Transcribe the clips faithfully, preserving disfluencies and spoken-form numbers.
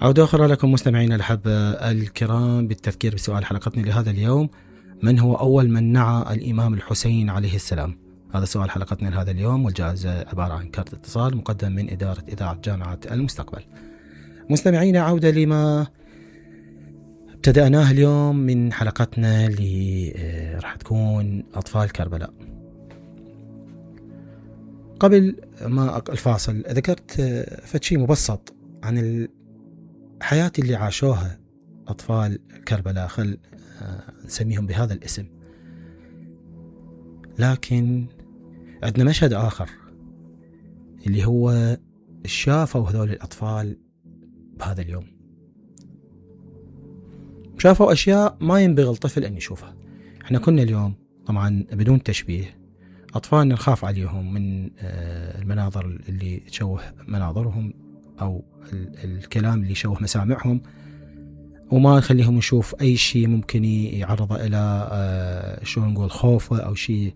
عودة أخرى لكم مستمعينا الأحبة الكرام بالتذكير بسؤال حلقتنا لهذا اليوم: من هو أول من نعى الإمام الحسين عليه السلام؟ هذا سؤال حلقتنا لهذا اليوم، والجائزة عبارة عن كارت اتصال مقدم من إدارة إذاعة جامعة المستقبل. مستمعينا، عودة لما ابتدأناه اليوم من حلقتنا اللي راح تكون أطفال كربلاء. قبل ما الفاصل ذكرت فتشي مبسط عن الحياة اللي عاشوها أطفال كربلاء، خل نسميهم بهذا الاسم. لكن عندنا مشهد آخر اللي هو شافوا هذول الأطفال بهذا اليوم، شافوا أشياء ما ينبغي الطفل أن يشوفها. احنا كنا اليوم طبعا بدون تشبيه أطفالنا نخاف عليهم من المناظر اللي تشوه مناظرهم أو الكلام اللي يشوه مسامعهم، وما نخليهم نشوف أي شيء ممكن يعرض إلى شو نقول خوفه أو شيء.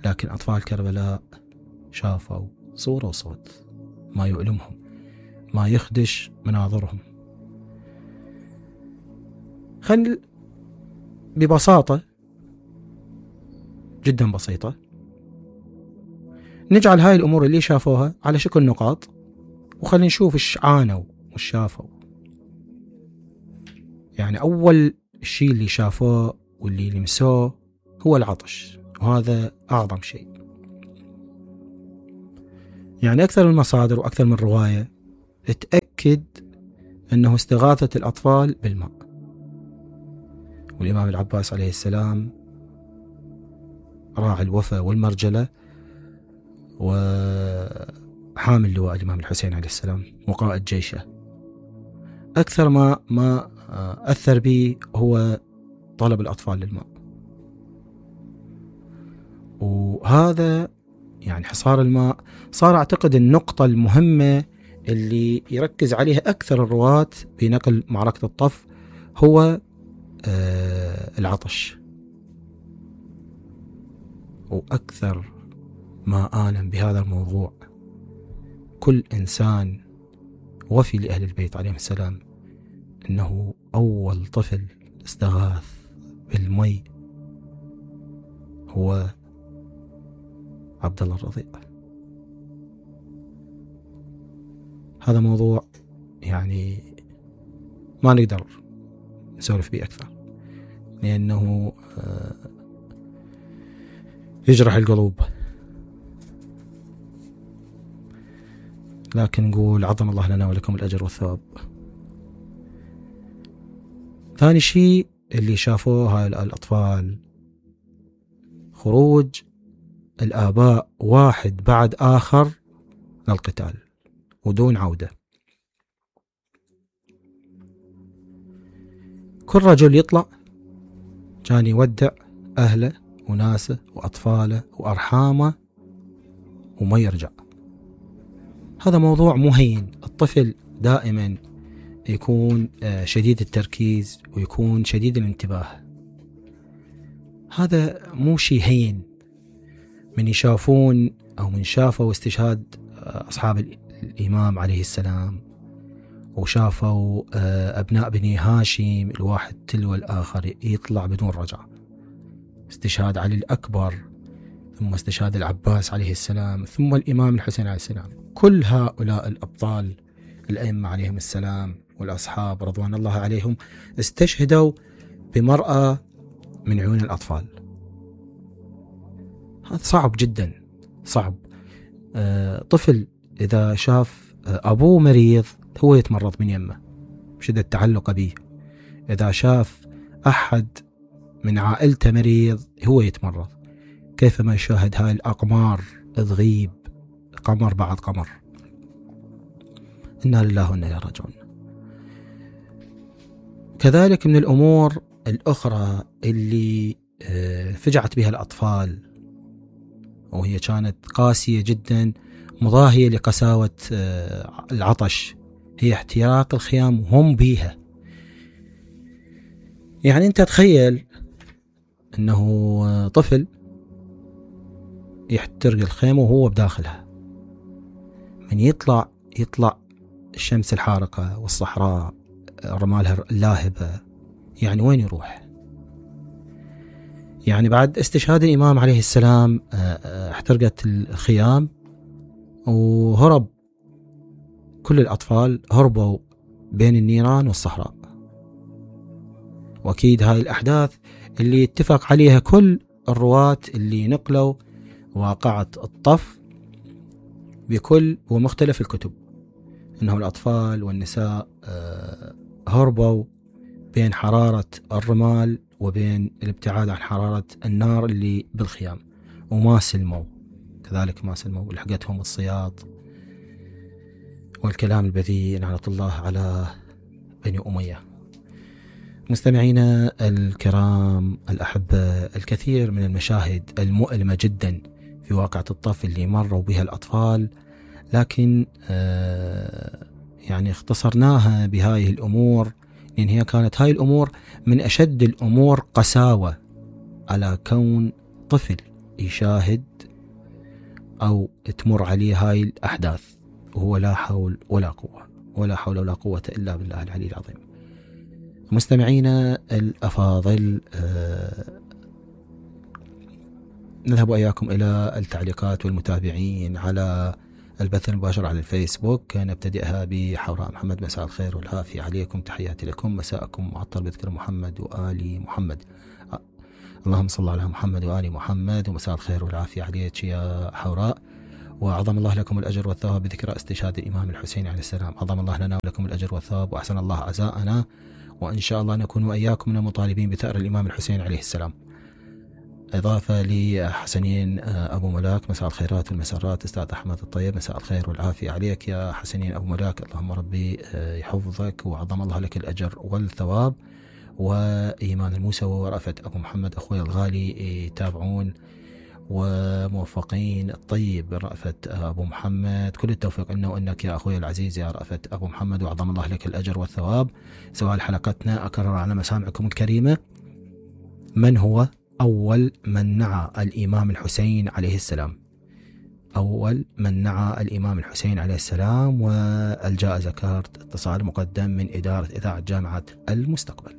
لكن أطفال كربلاء شافوا صورة وصوت ما يؤلمهم، ما يخدش مناظرهم. خل ببساطة جدا بسيطة نجعل هاي الأمور اللي شافوها على شكل نقاط، وخلينا نشوف إيش عانوا وإيش شافوا. يعني أول شيء اللي شافوه واللي لمسوه هو العطش، وهذا أعظم شيء. يعني أكثر من مصادر وأكثر من رواية تأكد أنه استغاثة الأطفال بالماء، والإمام العباس عليه السلام راعي الوفا والمرجلة وحامل لواء الإمام الحسين عليه السلام وقائد جيشه، أكثر ما ما أثر به هو طلب الأطفال للماء. وهذا يعني حصار الماء صار أعتقد النقطة المهمة اللي يركز عليها أكثر الرواة بنقل معركة الطف، هو العطش. وأكثر ما آلم بهذا الموضوع كل إنسان وفي لأهل البيت عليهم السلام إنه أول طفل استغاث بالمي هو عبد الله الرضيع. هذا موضوع يعني ما نقدر نسولف به أكثر، لأنه يجرح القلوب. لكن نقول عظم الله لنا ولكم الأجر والثواب. ثاني شيء اللي شافوه هاي الأطفال خروج الآباء واحد بعد آخر للقتال ودون عودة. كل رجل يطلع كان يودع أهله وناسه وأطفاله وأرحامه وما يرجع. هذا موضوع مهين. الطفل دائما يكون شديد التركيز ويكون شديد الانتباه. هذا مو شيء هين. من يشافون أو من شافوا استشهاد أصحاب الإمام عليه السلام، وشافوا أبناء بني هاشم الواحد تلو الآخر يطلع بدون رجعة، استشهاد علي الأكبر، ثم استشهاد العباس عليه السلام، ثم الإمام الحسين عليه السلام. كل هؤلاء الأبطال الأئمة عليهم السلام والأصحاب رضوان الله عليهم استشهدوا بمرأة من عيون الأطفال. هذا صعب جدا، صعب. آه طفل إذا شاف أبوه مريض هو يتمرض من يمه بشدة تعلق به. إذا شاف أحد من عائلته مريض هو يتمرض. كيفما يشاهد هاي الأقمار تغيب قمر بعد قمر. إنا لله وإنا إليه راجعون. كذلك من الأمور الأخرى اللي فجعت بها الأطفال وهي كانت قاسية جدا مضاهية لقساوة العطش، هي احتراق الخيام وهم بيها. يعني أنت تخيل أنه طفل يحترق الخيمة وهو بداخلها، من يطلع يطلع الشمس الحارقة والصحراء رمالها اللاهبة، يعني وين يروح؟ يعني بعد استشهاد الإمام عليه السلام احترقت الخيام وهرب كل الأطفال، هربوا بين النيران والصحراء. وأكيد هاي الأحداث اللي اتفق عليها كل الرواة اللي نقلوا واقعة الطف بكل ومختلف الكتب، إنه الأطفال والنساء هربوا بين حرارة الرمال وبين الابتعاد عن حرارة النار اللي بالخيام، وما سلموا، كذلك ما سلموا، لحقتهم الصياط والكلام البذيء لعنة الله على بني أمية. مستمعينا الكرام الأحبة، الكثير من المشاهد المؤلمة جدا في واقعة الطف اللي مروا بها الأطفال، لكن آه يعني اختصرناها بهاي الأمور لأن هي كانت هاي الأمور من أشد الأمور قساوة على كون طفل يشاهد أو تمر عليه هاي الأحداث وهو لا حول ولا قوة ولا حول ولا قوة إلا بالله العلي العظيم. مستمعينا الأفاضل، آه نذهب إياكم إلى التعليقات والمتابعين على البث المباشر على الفيسبوك. نبتدئها بحوراء محمد: مساء الخير والعافية عليكم، تحياتي لكم، مساءكم معطر بذكر محمد وآل محمد، اللهم صل على محمد وآل محمد، ومساء الخير والعافية عليك يا حوراء، وعظم الله لكم الأجر والثواب بذكر استشهاد الإمام الحسين عليه السلام، عظم الله لنا ولكم الأجر والثواب وأحسن الله عزاءنا، وإن شاء الله نكون وإياكم من المطالبين بثأر الإمام الحسين عليه السلام. إضافة لحسنين أبو ملاك: مساء الخيرات والمسرات أستاذ أحمد الطيب، مساء الخير والعافية عليك يا حسنين أبو ملاك، اللهم ربي يحفظك وعظم الله لك الأجر والثواب. وإيمان الموسوي ورأفت أبو محمد أخوي الغالي يتابعون وموفقين الطيب رأفت أبو محمد، كل التوفيق لنا وإنك يا أخوي العزيز يا رأفت أبو محمد، وعظم الله لك الأجر والثواب. سؤال حلقتنا أكرر على مسامعكم الكريمة: من هو أول من نعى الإمام الحسين عليه السلام؟ أول من نعى الإمام الحسين عليه السلام. والجائزة كارت اتصال مقدم من إدارة إذاعة جامعة المستقبل.